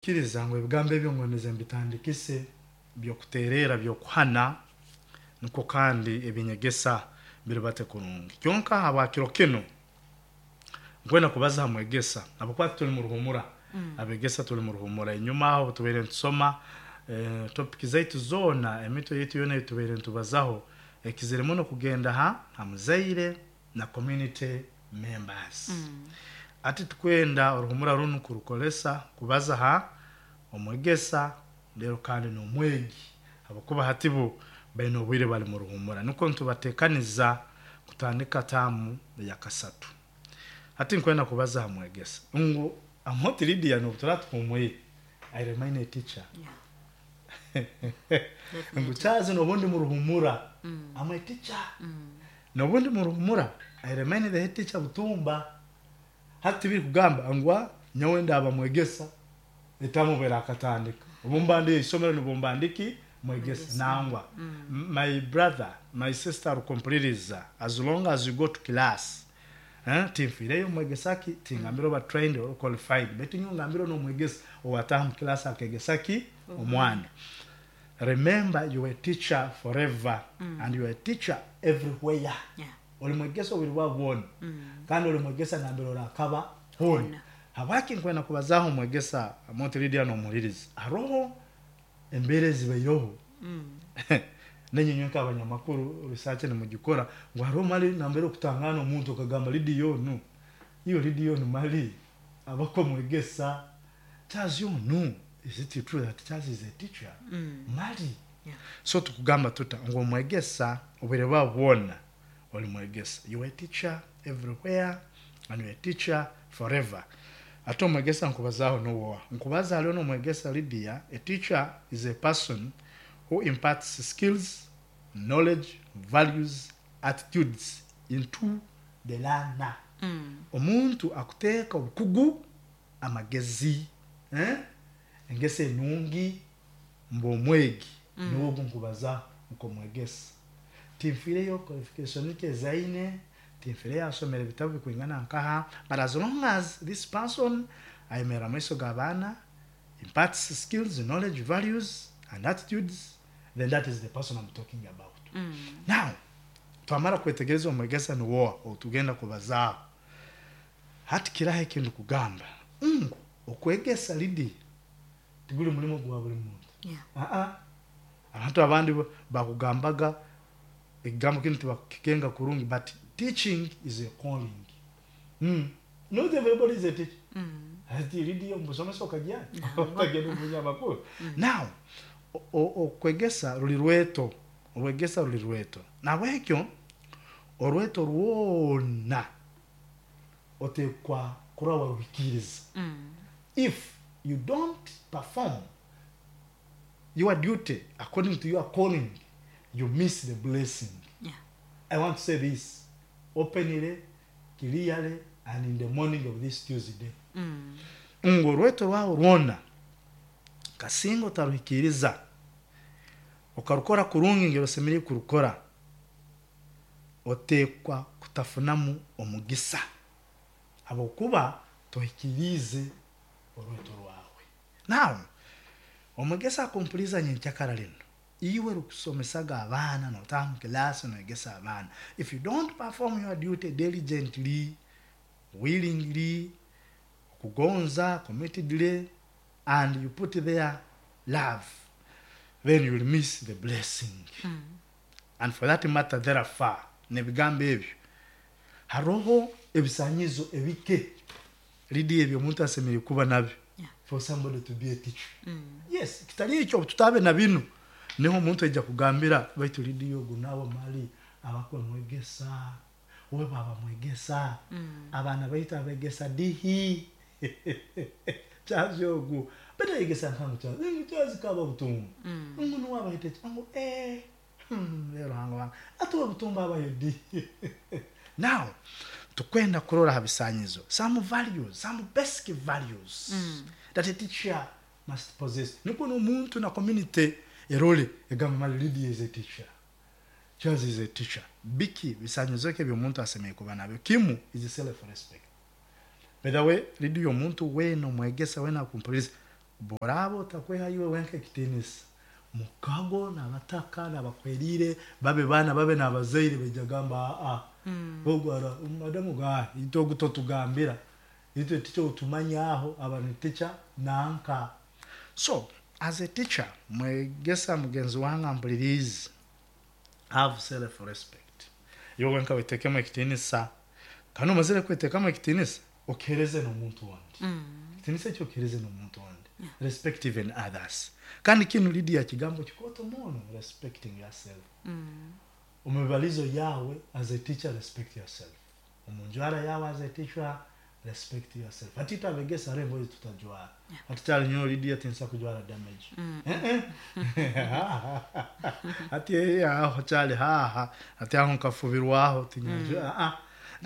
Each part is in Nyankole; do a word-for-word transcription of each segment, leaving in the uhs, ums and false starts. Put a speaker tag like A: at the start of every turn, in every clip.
A: Kiriza ngu ebigambo ebyo ngondeze mbitandikise byokuterera, byokuhana, nikwo kandi ebinyegesa biribate kurungi. Kyonka habwa kiro kinu nkwenda kubaza ha mwegesa, habwokuba tuli mu ruhumura. Abegesa tuli mu ruhumura. Enyuma aho tubaire nitusoma eh, topic zaitu zoona, emitwe yaitu yoona eitubaire nitubazaho ekizire muno kugenda ha ha muzaire na community members. Ati tukwenda oruhumura runu kurukolesa kubaza ha omwegesa, rero kandi n'omwegi, habwokuba hati bo baine obwire bali mu ruhumura, nukwo nitubatekaniza kutandika taamu eyakasatu. Hati nkwenda kubaza ha mwegesa ngu Amooti Lydia, n'obu turaba tuhumwire, I remain a teacher.
B: Yeah.
A: Ngu Charles, n'obundi mu ruhumura, I'm a teacher. N'obundi mu ruhumura, I remain the head teacher Butumba. Hati tibiri kugamba ngu "Ah, nyowe ndaba mwegesa etamubera akatandika obu mba ndi isomero nibwo mba ndiki mwegesa." Nangwa, my brother, my sister rukumpuliriza, as long as you go to class, eh, tinfiireyo mwegesa ki, tingambire oba trained or qualified, baitu nyowe ngambire n'omwegesa owataha mu class akegesa ki omwana. Remember, you are a teacher forever and you are a teacher everywhere.
B: Yeah.
A: Oli mwegesa obwire bwawe bwona kandi oli mwegesa nambere orakaba hona.
B: Hona.
A: Habwaki nkwenda kubazaho omwegesa, Amooti Lydia n'omuhuliriza? Haroho embeera ezibaireho, nenyinywe nk'abanyamakuru research nimugikora, ngu hariho mali nambere okutangana omuntu okagamba, "Lydia onu, iyo Lydia onu mali abako mwegesa? Charles onu, is it true that Charles is a teacher mali?"
B: Yeah.
A: So tukugamba tuta ngu omwegesa obwire bwawe bwona oli mwegesa. You are a teacher everywhere and you are a teacher forever. Ate omwegesa nkubazaho nuwoha? Nkubaza haliho n'omwegesa Lydia. A teacher is a person who imparts skills, knowledge, values, attitudes into the learner. Omuntu akuteeka obukugu, amagezi, eh? Engeso enungi mbwomwegi, niwo ogu nkubaza nkomwegesa. Tinfiireyo qualification ke ezaine, tinfiireyo asomera ebitabo bikwingana nkaha, but as long as this person ayemerera maiso g'abaana, imparts skills, knowledge, values and attitudes, then that is the person I'm talking about. Now twamara kwetegereza omwegesa niwoha otugenda kubazaaho, hati kiraho ekintu kugamba ngu okwegesa, Lydia, tiguli mulimo gwa buli muntu.
B: Yeah.
A: Aa, abantu abandi bo bakugambaga ekigambo kinu tibakukikenga kurungi, but teaching is a calling mm. Not everybody is a teacher. Ati Lydia omusomesa okajya okagenda omunyamakuru. Now o- o- okwegesa ruli rweto, orwegesa ruli rweto. Nabwekyo orweto rwona otekwa kuraba waruhikiriza. If you don't perform your duty according to your calling, you miss the blessing.
B: Yeah.
A: I want to say this openly, clearly, and in the morning of this Tuesday, ngu orweto rwawe rwona kasinga otaruhikiriza okarukora kurungi ngero osemereire kurukora, otekwa kutafunamu omugisa habwokuba tohikiriize orweto rwawe. Now omwegesa akumpuliza nyenkyakara lino, iwe rukusomesaga abaana, notaha mu kilasi noegesa abaana, if you don't perform your duty diligently, willingly, okugonza, committedly, and you put there love, then you will miss the blessing. And for that matter, therefore, nebigambo ebyo, haroho ebisanyizo ebike, Lydia, ebyo omuntu asemereire kuba nabyo
B: Yeah.
A: for somebody to be a teacher. Yes, kitali ekyo, tutabe na binu, niho omuntu aija kugambira, "Baitu Lydia ogu nawe mali abakwe mwegesa? We baba mwegesa, abaana baitu abegesa dihi? Charles ogu baitu ayegesa nkangu Charles, ngu Charles kaba Butumba, ngu nuwe abahita ngu eh hmm, rero Ruhanga wange, atuwe Butumba abayo dihi?" Now tukwenda kurora ha bisanyizo, some values, some basic values that a teacher must possess, nikwo n'omuntu na community erole egamba, "Mali Lydia is a teacher, Charles is a teacher." Biki bisanyizo ki ebyomuntu asemeriire kuba nabyo? Kimu is self respect. By the way, Lydia, omuntu weena omwegesa weena akumpuliriza, Boraba otakweha iwe wenka ekitinisa, mukago n'abataka n'abakwerire babe baana babe n'abazaire baija gamba aa ogwara madamu ga itwe ogu totugambira, itwe teacher otumanyaho aba ni teacher nanka. So as a teacher, mwegesa mugenzi wange ampulirize, have self respect. Iwe wenka wetekemu ekitinisa, kandi omazire kwetekamo ekitinisa okihereze n'omuntu ondi. Ekitinisa ekyo okihereze n'omuntu ondi. Respect even others. Kandi kinu Lydia kigambo kikooto muno, respecting yourself. Omubibalizo yawe as a teacher, respect yourself. Omunjwara yawe as a teacher, respect yourself. Hati tabegesa hariho engoye tutajwara. Hati kyali nyowe Lydia tinsa kujwara damage. Eh, eh. Hati eh, aho kyali haha, hati aho nkafubirwaho tinyajwa ah, ah.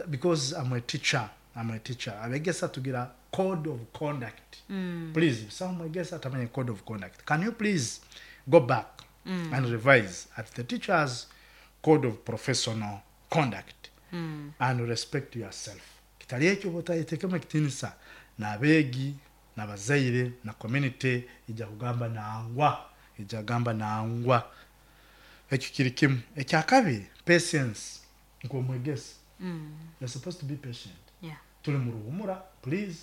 A: Because I'm a teacher, I'm a teacher. Abegesa tugira code of conduct. Please, some mwegesa atamanya code of conduct. Can you please go back and revise at the teacher's code of professional conduct and respect yourself. Kitali ekyo bwotayetekemu ekitinisa, n'abeegi n'abazaire na community ija kugamba nangwa, ija kugamba nangwa. Ekyo kiri kimu. Ekyakabiri, patience. Nk'omwegesa, you're supposed to be patient.
B: Yeah.
A: Tuli mu ruhumura, please.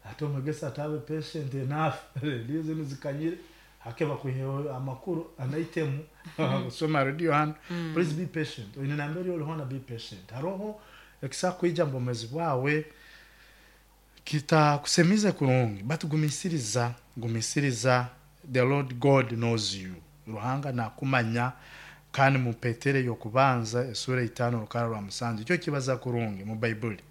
A: Ate omwegesa atabe patient enough, rediyo zinu zikanyire hake bakwiheho amakuru anaitemu kusoma radio hano. Please be patient. Oine nambere orihona, be patient. Haroho ekisa kwija mu bwomezi bwawe kitakusemize kurungi, but gumisiriza, gumisiriza. The Lord God knows you. Ruhanga nakumanya. Kandi mu Petere yokubanza esura itano rukara rwa musanju icyo kibaza kurungi mu Baibuli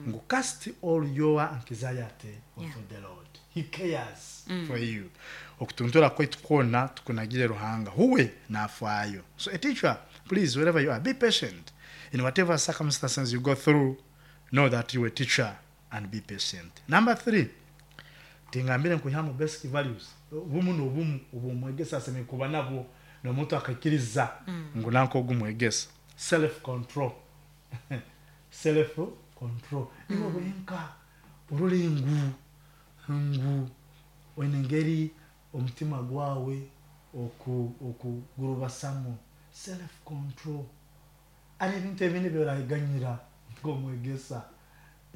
A: ngu cast all your anxiety onto
B: Yeah.
A: the Lord, he cares for you. Okutuntura kwaitu kwona tukunagire Ruhanga, huwe nafaayo. So a teacher, please, wherever you are, be patient. In whatever circumstances you go through, know that you are a teacher and be patient. Number three, tingambire nkuihamu basic values, obumu n'obumu obwomwegesa asemeriire kuba nabwo n'omuntu akaikiriza ngu nanka ogu mwegesa. Self control, self control. Iwe wenka orole ngu ngu oine engeri omutima gwawe oku okugurubasamu. Self control. Ari ebintu ebindi byorahiganyira nk'omwegesa,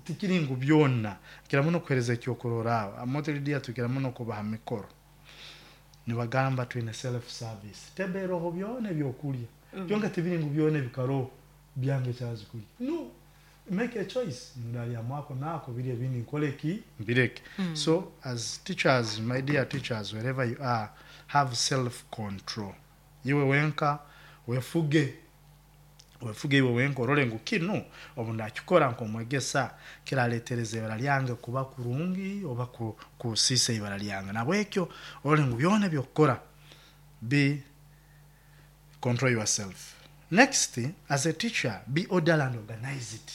A: tikiri ngu byona. Nkira muno kuhereza ekyokuroraaho amoteridia, tukira muno kubaha mikoro nibagamba twine self service, teberoho byona ebyokurya byonka, tibiri ngu byona ebikaroho byange kyazi kurya. No, make a choice, ndarya mwako nako biri ebindi nkole ki mbireke. So as teachers, my dear teachers, wherever you are, have self control. Iwe wenka wefuge, wefuge iwe wenka, orole ngu kinu obu ndakikora nk'omwegesa kiraletereza ibara lyange kuba kurungi oba ku- kusiisa ibara lyange. Nabwekyo orole ngu byona ebyokukora, be control yourself. Next, as a teacher, be orderly and organized.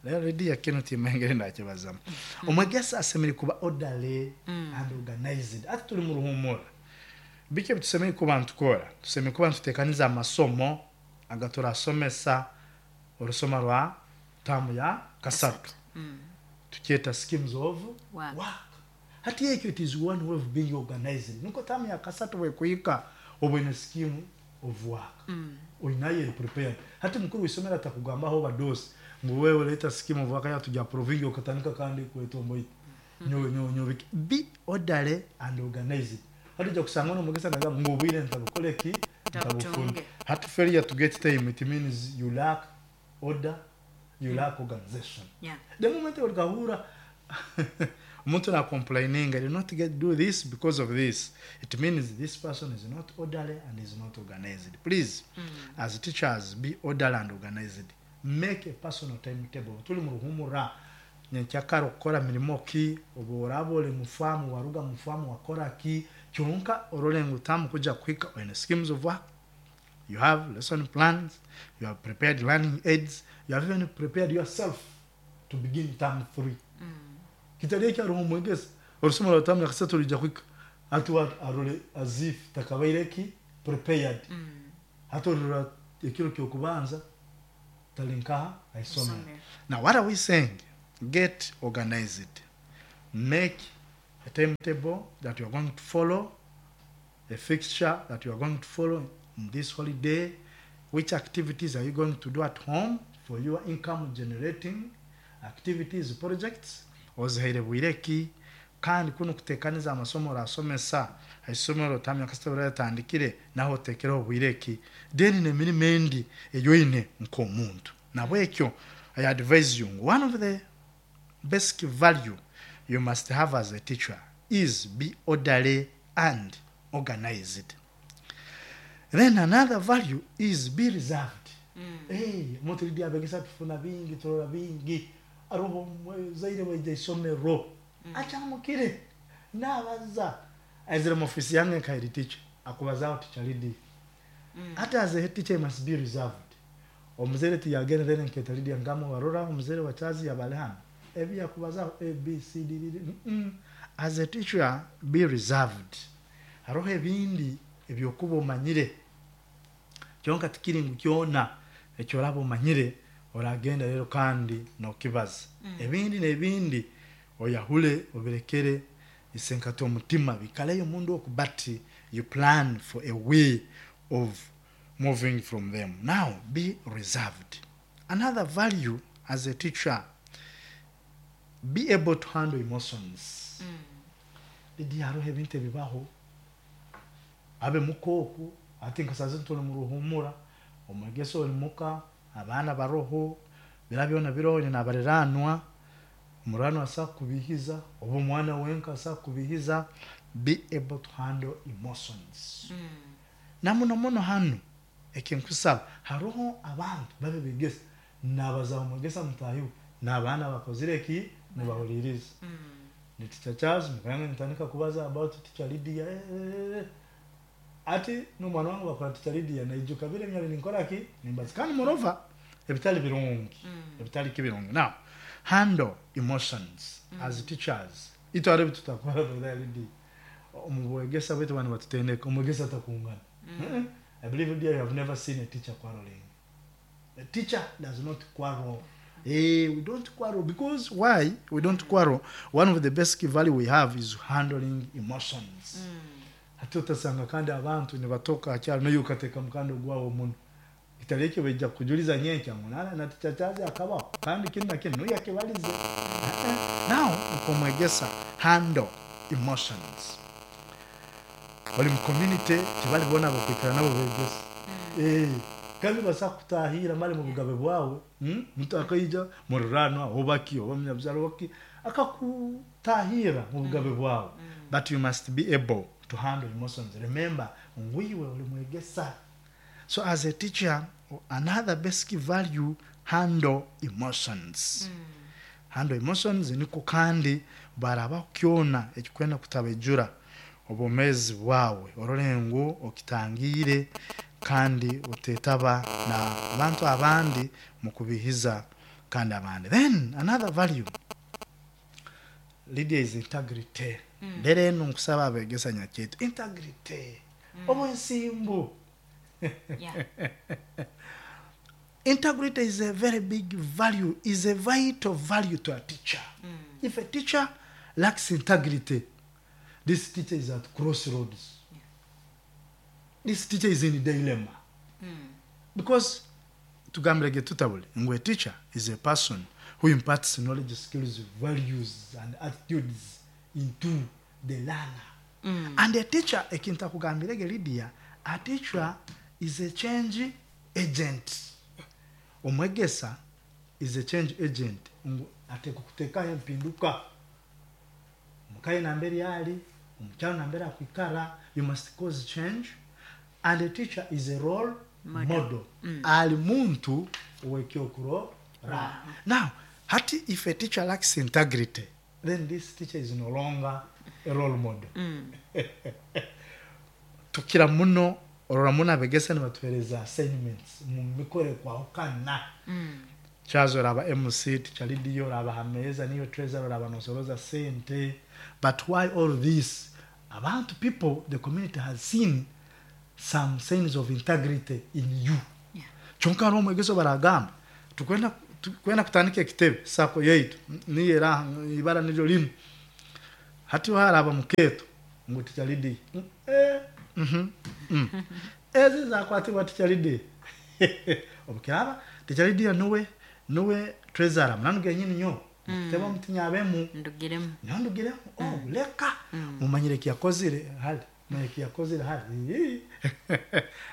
A: Rero Lydia kinu timengere ndakibazamu. Omwegesa asemeriire kuba orderly and organized. Ati tuli mu ruhumura, biki ebitusemeriire kuba ntukora? Tusemeriire kuba ntutekaniza amasomo agaturasomesa orusoma rwa tamu ya kasatu, tukyeta schemes of
B: Work.
A: work. Hati ekyo, it is one way of being organized. Niko tamu ya kasatu bwekuhika obwine scheme of work oinayo eri prepared. Hati mukuru w'isomero atakugambaho badosi ngu wewe leta scheme of work yatuja approving, okatandika kandi kwetomboita nyowe nyowe nyowe. Be orderly and organized. Hati ojja kusanga nomugesa nagamba ngu obwire ntabukole ki, ntabufuna.
B: Ntabutunge.
A: Hati failure to get time, it means you lack order, you lack organization.
B: Yeah.
A: The moment origahura omuntu na complaining, "I did not get do this because of this," it means this person is not orderly and is not organized. Please, as teachers, be orderly and organized. Make a personal timetable. Tuli mu ruhumura, nyenkyakara okukora mirimo ki, obu oraba ori mufamu waruga mufamu wakora ki, kyonka orole ngu tamu kuja kuhika oine schemes of work, you have lesson plans, you have prepared learning aids, you have even prepared yourself to begin term three. Kitali ekyo hariho omwegesa orusomo rwa tamu yakasatu ruija kuhika ati wa- arole as if takabaire ki prepared. Hati orora ekiro kyokubanza tali nkaha aisomero.
B: Isomero.
A: Now what are we saying? Get organized, make A timetable that you are going to follow, a fixture that you are going to follow in this holiday, which activities are you going to do at home for your income generating activities, projects, ozihaire bwire ki, kandi kunu kutekaniza amasomo orasomesa haisomero tamya kasita oratandikire naho otekereho bwire ki, then n'emirimo endi eyoine nk'omuntu. Nabwekyo I advise you, one of the basic value you must have as a teacher is be orderly and organized. Then another value is be reserved.
B: Mm.
A: Hey, omuntu Lydia abegesa tufuna bingi, turora bingi, aroho muzaire waija isomero
B: Mm.
A: achamukire nabaza aizire mu ofisi yange nka head teacher akubazaho teacher Lydia.
B: Mm.
A: Ate as a head teacher you must be reserved. Omuzaire tiyagenda then nketa Lydia ngamo warora omuzaire wa Chazi yabale hano ebi yakubazaho A B C D D D. Mm -mm. As a teacher be reserved. Haroho ebindi ebyokuba omanyire kyonka tikiri ngu kyona ekyoraba omanyire oragenda rero kandi nokibaza.
B: Mm.
A: Ebindi n'ebindi oyahule obirekere isenkati omutima bikaleyo omundu oku, but you plan for a way of moving from them. Now be reserved. Another value as a teacher, be able to handle emotions.
B: Mm.
A: Lydia haroho ebintu ebibaho abe mukooku ati nkasaze tuli mu ruhumura omwegesa oli muka abaana baroho bira byona biroho nyina abariranwa omuranwa asa kubihiza oba omwana wenka asa kubihiza. Be able to handle emotions.
B: Mm.
A: Na muno muno hanu ekinkusaba haroho abantu babe begesa nabaza omwegesa mutahiwe n'abaana bakozire ki nibahuliriza.
B: Mm.
A: Ni teacher Charles mukanga nitandika kubaza about teacher Lydia eh, eh, eh. Ati n'omwana wange bakora teacher Lydia naijuka bire myali ninkora ki nimbaza kandi morova ebitali birungi.
B: Mm.
A: Ebitali kibirungi. Now handle emotions.
B: Mm.
A: As teachers itware bitutakora brother Lydia omu bwegesa bwetu bana batutendeka omwegesa atakungana.
B: Mm.
A: Eh, I believe Lydia you have never seen a teacher quarreling. A teacher does not quarrel. Eh, we don't quarrel because why we don't quarrel? One of the basic value we have is handling emotions.
B: Mm.
A: Hati otasanga kandi abantu nibatoka akyalo naye ukateka mukando gwawo muno kitali ekyo baija kujuliza nyenkya ngu nana na teacher Charles akabaho kandi kinu na kinu nuyo akibalize. Now nkomwegesa handle emotions. Bali mu community tibali bona bakwikara nabo begesa.
B: Mm.
A: Eh, kandi basa kutahira mali mu bugabe bwawe, hmm? Mtu akaija mururanwa obaki oba munyabyaro waki akakutahira mu bugabe bwawe.
B: Mm.
A: But you must be able to handle emotions. Remember ngwiwe uli mwegesa. So as a teacher, another basic value, handle emotions.
B: Mm.
A: Handle emotions niko kandi baraba kyona ekikwenda kutabejura obomezi bwawe orore ngu okitangire kandi utetaba na abantu abandi mu kubihiza kandi abandi. Then another value Lydia is integrity.
B: Mm.
A: Rero eno nkusaba abegesa nyaketu integrity.
B: Mm.
A: Obwensimbu.
B: Yeah.
A: Integrity is a very big value, is a vital value to a teacher.
B: Mm.
A: If a teacher lacks integrity, this teacher is at crossroads.
B: Yeah.
A: This teacher is in dilemma.
B: Mm.
A: Because tugambirege tutabule ngu a teacher is a person who imparts knowledge, skills, values and attitudes into the learner.
B: Mm.
A: And a teacher, ekintu akugambirege Lydia, a teacher is a change agent. Omwegesa is a change agent. Ngu ateekwa kuteekaho empinduka omukayi nambere ali, omukyalo nambere akwikara, you must cause change. And a teacher is a role
B: Model.
A: model.
B: Mm.
A: Ali muntu owekyokurora. Now, hati if a teacher lacks integrity, then this teacher is no longer a role model.
B: Mm.
A: Tukira muno orora muno abegesa nibatuhereza assignments mu mikore kwahukana.
B: Mm.
A: Chazo oraba M C, teacher Lydia, oraba hameza niyo treasurer, oraba nosoroza sente. But why all this? Abantu people, the community has seen some signs of integrity in you.
B: Yeah.
A: Kyonka hariho omwegeso baragamba tukwenda tukwenda kutandika ekitebe sako yaitu niyo era ibara niryo linu. Hati haraba mukeeto ngu Teacher Lydia. Mm, eh, mhm, mm. Ezi zakwatibwa Teacher Lydia. Obukiraba Teacher Lydia nuwe nuwe treasurer munanu genyini nyo. Mukiteba mutinyabemu
B: Ndugiremu.
A: nandugiremu oh leka mumanyire kiyakozire hali mumanyire kiyakozire hali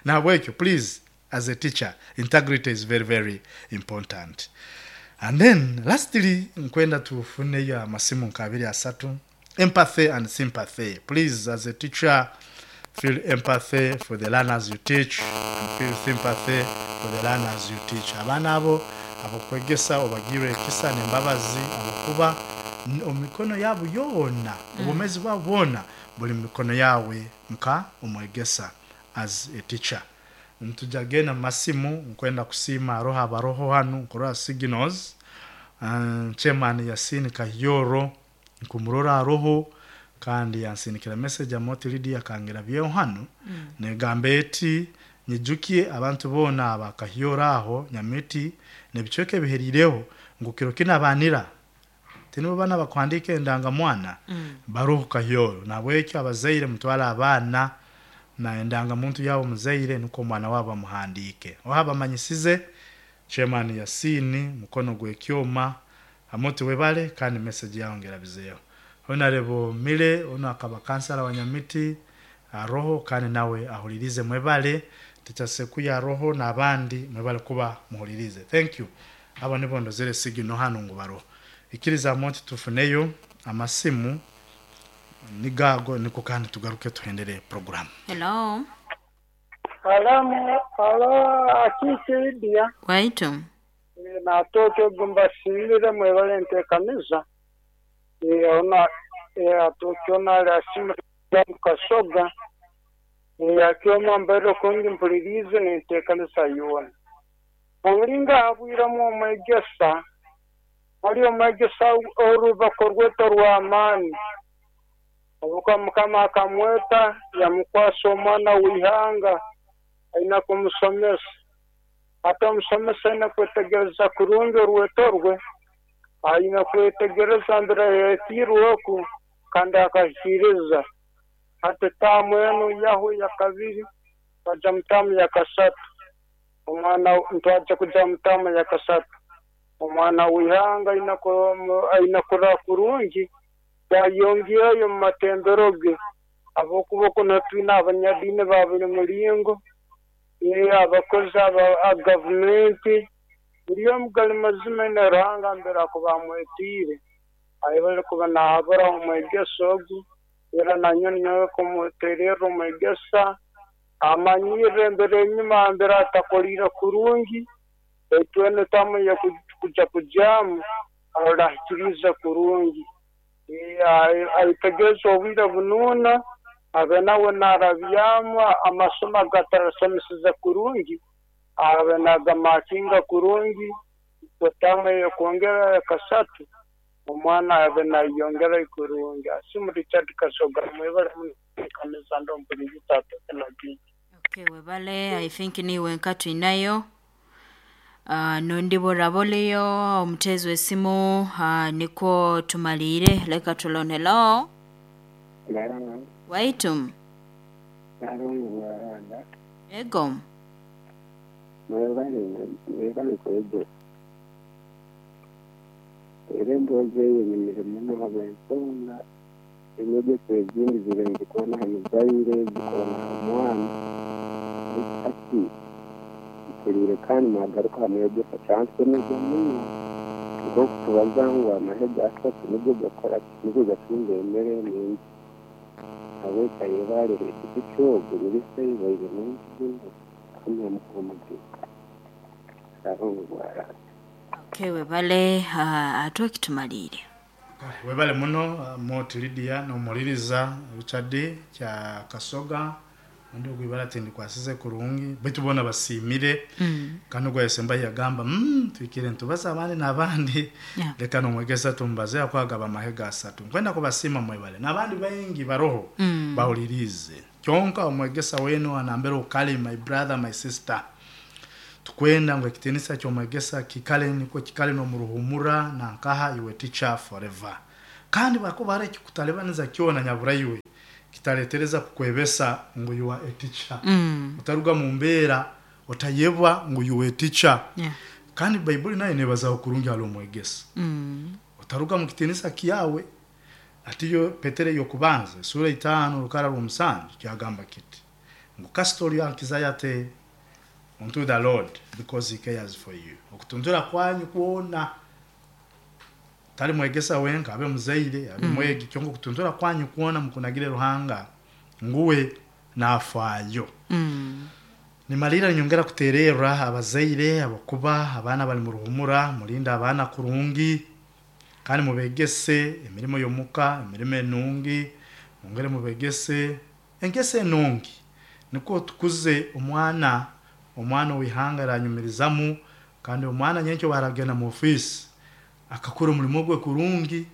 A: nahabwekyo please as a teacher integrity is very very important and then lastly nkwenda tufuneyo amasimu nkabiri asatu empathy and sympathy please as a teacher feel empathy for the learners you teach and feel sympathy for the learners you teach abaana abo abokwegesa obagirwe ekisa nembabazi abokuba n- omu mikono yabo yoona obumezi bwabo bwona buli mu mikono yawe nka omwegesa as a teacher ntujja genda mu masimu nkwenda kusiima aroho abaroho hanu nkurora signals uh, chairman Yasin Kahiyoro nkumurora aroho kandi yansindikira message amoti Lydia akangira byeho hanu mm. negamba eti nyijukie abantu boona abakahiyoro aho nyamiti nebicweka ebiherireho ngu kiro kinabanira tinibo bana bakwandika endangamwana mm. baroho kahiyoro nabwekyo abazaire mutwara abaana na endangamuntu yabo muzaire nuko omwana wabo amuhandiike oha bamanyisize chairman Yasini mukono gwekyoma amoti webale kandi message yawo ngerabizeeho honorable mile ono akaba kansala wa nyamiti aroho kandi nawe ahulirize mwebale tikyasekuya aroho n'abandi mwebale kuba muhulirize thank you abo nibo ndozere sigino hano ngu baroho ikiriza amoti tufuneyo amasimu nigago niko kandi tugaruke tuhendere program
B: Hello.
C: Alamu, alo, akiki Lydia,
B: Waitu.
C: natoke gumbasiirire mwebale nteekaniza. Eh, ona, eh, atoke ona asimu kasoga. Eh, akyoma mbere kungi mpulirize nenteekaniza yoona. Omulinga abwiramu omwegesa, ali omwegesa orubako rweto rw'amaani. Obuka Mukama akamweta yamukwasa omwana w'ihanga aina kumusomesa. Ate omusomesa aina kwetegereza kurungi orweto rwe, aina kwetegereza mbere yetiirwe oku kandi akahikiriza. Ate taamu enu yahu ya kabiri twaja mu taamu ya kasatu. Omwana ntwaja kuja mu taamu ya kasatu. Omwana w'ihanga aina ku- aina kurora kurungi yayongereyo mu matembero ge abokuba kuno twine abanyadiini ba buli mulingo eh, abakozi aba a gavumenti buri omu gali mazima ine Ruhanga mbere akuba amwetiire ayebale kuba nahabura omwegesa ogu era nanyowe nyowe kumutererra omwegesa amanyirre embere enyuma mbere atakoliire kurungi baitu enu tamu kuja kujamu arahikiriza kurungi aitegereza obwire bunuuna abe nawe narabyamu amasomo agatarasomeseza kurungi abe nagamakinga kurungi otamu eyokwongera kasatu omwana abe nayongera kurungi asimu Richard Kasoga mwebale muno kanisa ndo mpuliriza atoke
B: Okay, webale I think niwe nkatu inayo. Uh, nondibora boleyo omuteezi w'essimu uh, niko tumaliire leka tulone hello waitu ego
D: mwebale kwegesa era emboozi eyo enyumire muno habw'ensonga enyegesa ezindi ziri nzikona ha muzaire zikona ha mwana hati mpulire kandi mwagaruka ha mwegesa kyansomeza muno nk'okutubaza ngu amahega asatu nigo gakora nigo gatunga emere mingi habweka yebalire ekiti kyogo nibisaibaire mingi muno kamwe omukuba sarungu bwarara
B: okay webale uh, ate okitumaliire
A: webale muno uh, moti Lydia nomuliriza Richard kya Kasoga undi ogwibala tindi kwasize kurungi baitu bona basiimire
B: mm.
A: kandi ogwayesemba yagamba mm, twikire ntubaze abandi n'abandi
B: Yeah.
A: leka nomwegesa tumbaze akwagaba amahega asatu nkwenda kubasiima mwebale n'abandi baingi baroho
B: Mm.
A: bahulirize kyonka omwegesa wenu anambere ukali my brother my sister tukwenda ngu ekitinisa kyomwegesa kikale niko kikale nomuruhumura nankaha iwe teacher forever Kandi bakuba hari ekikutalibaniza kyona nyaburaiwe kitaletereza kukwebesa ngu you are a teacher.
B: Mm.
A: Utaruga mu mbeera otayebwa ngu you are a teacher.
B: Yeah.
A: Kandi Baibuli nayo nebazaho kurungi hali omwegesa.
B: Mm.
A: Otaruga mu kitinisa kyawe. Atiyo Petere yokubanza sura itaano rukara rw'omusanju kyagamba kiti ngu kasita anxiety unto the Lord because he cares for you. Okutuntura kwanyu kwona tali mwegesa wenka, abe muzaire, abe mwegi, kyonka okutuntura kwanyu kwona mukunagire Ruhanga nguwe nafaayo.
B: Mm.
A: Nimalira nyongera kutererra abazaire abakuba abaana bali mu ruhumura, mulinda abaana kurungi kandi mubegese emirimo y'omuka, emirimo enungi, mwongere mubegese engese enungi, nikwo tukuze omwana, omwana ow'ihanga aranyumirizamu, kandi omwana nyenkyo baragenda mu ofisi akakora omurimo gwe kurungi,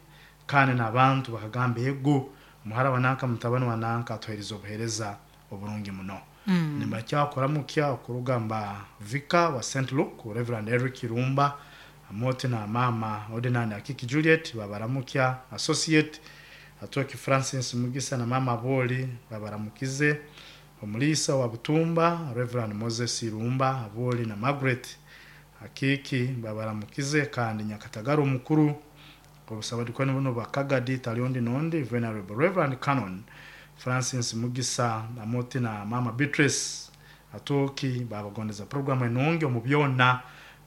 A: kandi n'abantu bakagamba ego muhara wa nanka, mutabani wa nanka atuhereza obuhereza oburungi muno.
B: Mm.
A: Nibakyakora mukya okurugamba Vika wa Saint Luke, Reverend Eric Irumba amoti na mama Ordinand Akiki Juliet babaramukya, associate Atoki Francis Mugisa na mama Boli babaramukize, omulisa wa Butumba Reverend Moses Irumba Aboli na Margaret Akiki babaramukize, kandi Nyakatagara omukuru obusabadikoni buno bakagadi taliondi nondi Venerable Reverend Canon Francis Mugisa amoti na mama Beatrice Atoki babagondeza programu enungi omu byona,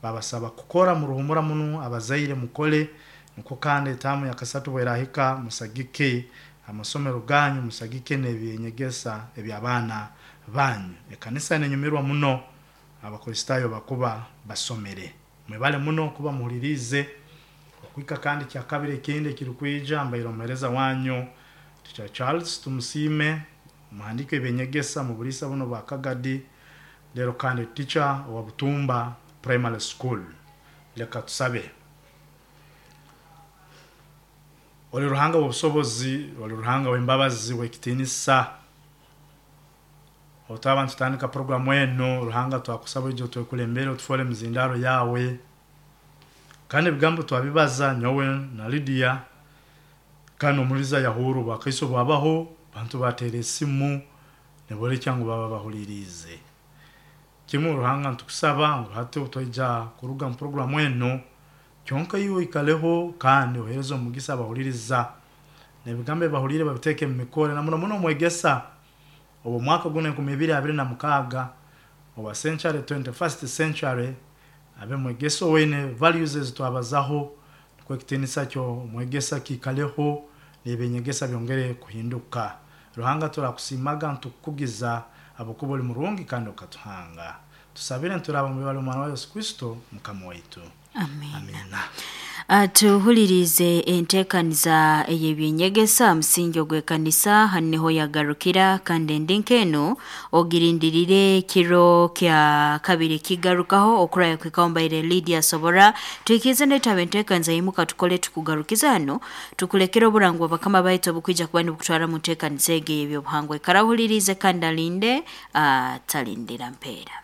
A: babasaba kukora mu ruhumura muno, abazaire mukole niko, kandi etamu ya kasatu bwerahika musagike amasomero ganyu, musagike n'ebyenyegesa eby'abaana banyu. Ekanisa nenyumirwa muno Abakristayo bakuba basomere. Mwebale muno kuba muhulirize okwika. Kandi kyakabiri ekindi ekirikwija mbaire omuhereza wanyu Teacher Charles Tumusiime, muhandike ebyenyegesa mu bulisa buno bwa Kagadi, lero kandi teacher wa Butumba Primary School. Leka tusabe. Oli Ruhanga w'obusobozi, oli Ruhanga w'embabazi, w'ekitinisa, otaba ntutandika programu eno Ruhanga twakusaba ijo twekulembere, otufole mizindaro yawe, kandi ebigambo twabibaza nyowe na Lydia, kandi omuliza yahuru bwakaiso bwabaho bantu batera esimu nibolekya ngu baba bahulirize kimu. Ruhanga ntukusaba ngu hati twaija kuruga mu programu eno, kyonka iwe ikaleho kandi ohereze omugisa abahuliriza n'ebigambo ebahulire babiteeke mu mikore, na muno muno omwegesa obwo mwaka guno enkumi ibiri abiri na mukaaga owa century twenty-first century, abe mwegesa owene values ezitwabazaho, nikwo ekitinisa kyo omwegesa kiikaleho n'ebyenyegesa byongere kuhinduka. Ruhanga turakusimaga, ntukukugiza abakuba oli murungi kandi okatuhanga. Tusabire nturaba mu bibali omwana wa Yesu Kristo mukama waitu.
B: Amen.
A: Amina.
B: Tuhulirize enteekaniza ey'ebyenyegesa musingi ogw'ekanisa hanu niho yagarukira, kandi endi nk'enu ogirindirire kiro kya kabiri kigarukaho okuraya kwikaho mbaire Lydia Sobora. Tuikirize netaba enteekaniza yimuka tukole tukugarukiza hano, tukulekere oburangwa bakama baitu obukwija kuba nibukutwara mu nteekaniza egi ey'ebyobuhangwa. Ikarahulirize kandi alinde, atalindira mpeera.